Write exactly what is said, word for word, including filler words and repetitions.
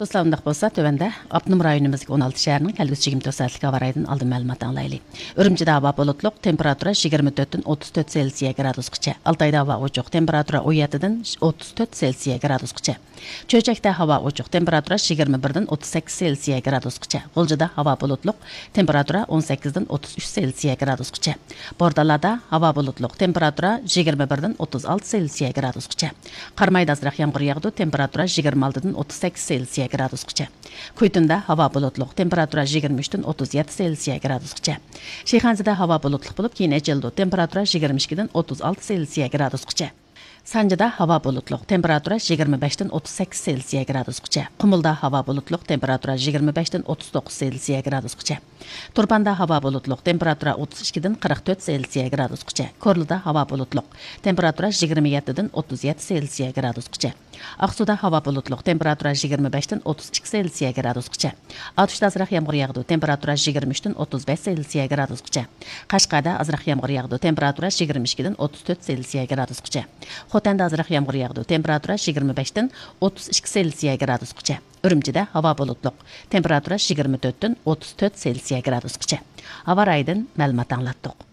دوستلار، ئۇنداق بولسا، تۆۋەندە ئاپتونوم رايونىمىزدىكى ئون ئالتە شەھەرنىڭ كەلگۈسى يىگىرمە تۆت سائەتلىك ھاۋا رايىدىن ئالدىن مەلۇمات ئاڭلايلى. ئۈرۈمچىدە ھاۋا بۇلۇتلۇق، تېمپېراتۇرا يىگىرمە تۆتتىن ئوتتۇز تۆت سېلسىيە گرادۇسقىچە. ئالتايدا ھاۋا ئوچۇق، تېمپېراتۇرا ئون يەتتىدىن ئوتتۇز تۆت سېلسىيە گرادۇسقىچە. چۆچەكتە ھاۋا ئوچۇق، تېمپېراتۇرا يىگىرمە بىردىن ئوتتۇز سەككىز سېلسىيە گرادۇسقىچە. غۇلجىدا ھاۋا بۇلۇتلۇق، تېمپېراتۇرا ئون سەككىزدىن ئوتتۇز ئۈچ سېلسىيە گرادۇسقىچە. بورتالادا ھاۋا بۇلۇتلۇق، تېمپېراتۇرا يىگىرمە بىردىن ئوتتۇز ئالتە سېلسىيە گرادۇسقىچە. قارامايدا ئازراق يامغۇر ياغىدۇ، تېمپېراتۇرا يىگىرمە ئالتىدىن ئوتتۇز سەككىز سېلسىيە گرادۇسقىچە. كۇيتۇندا ھاۋا بۇلۇتلۇق، تېمپېراتۇرا يىگىرمە ئۈچتىن ئوتتۇز يەتتە سېلسىيە گرادۇسقىچە. شىخەنزىدە ھاۋا بۇلۇتلۇق بولۇپ، كېيىن ئېچىلىدۇ، تېمپېراتۇرا يىگىرمە ئىككىدىن ئوتتۇز ئالتە سېلسىيە گرادۇسقىچە. سانجىدا ھاۋا بۇلۇتلۇق، تېمپېراتۇرا يىگىرمە بەشتىن ئوتتۇز سەككىز سېلسىيە گرادۇسقىچە. قۇمۇلدا ھاۋا بۇلۇتلۇق، تېمپېراتۇرا يىگىرمە بەشتىن ئوتتۇز توققۇز سېلسىيە گرادۇسقىچە. تۇرپاندا ھاۋا بۇلۇتلۇق، تېمپېراتۇرا ئوتتۇز ئىككىدىن قىرىق تۆت سېلسىيە گرادۇسقىچە. كورلىدا ھاۋا بۇلۇتلۇق، تېمپېراتۇرا يىگىرمە يەتتىدىن ئوتتۇز يەتتە سېلسىيە گرادۇسقىچە. ئاقسۇدا ھاۋا بۇلۇتلۇق، تېمپېراتۇرا يىگىرمە بەشتىن ئوتتۇز ئىككى سېلسىيە گرادۇسقىچە. ئاتۇشتا ئازراق يامغۇر ياغىدۇ، تېمپېراتۇرا يىگىرمە ئۈچتىن ئوتتۇز بەش سېلسىيە گرادۇسقىچە. قەشقەردە ئازراق يامغۇر ياغىدۇ، تېمپېراتۇرا يىگىرمە ئىككىدىن ئوتتۇز تۆت سېلسىيە گرادۇسقىچە. خوتەندە ئازراق يامغۇر ياغىدۇ، تېمپېراتۇرا يىگىرمە بەشتىن ئوتتۇز ئىككى سېلسىيە گرادۇسقىچە. ئۈرۈمچىدە ھاۋا بۇلۇتلۇق، تېمپېراتۇرا يىگىرمە تۆتتىن ئوتتۇز تۆت سېلسىيە گرادۇسقىچە. ھاۋا رايىدىن مەلۇمات ئاڭلاتتۇق.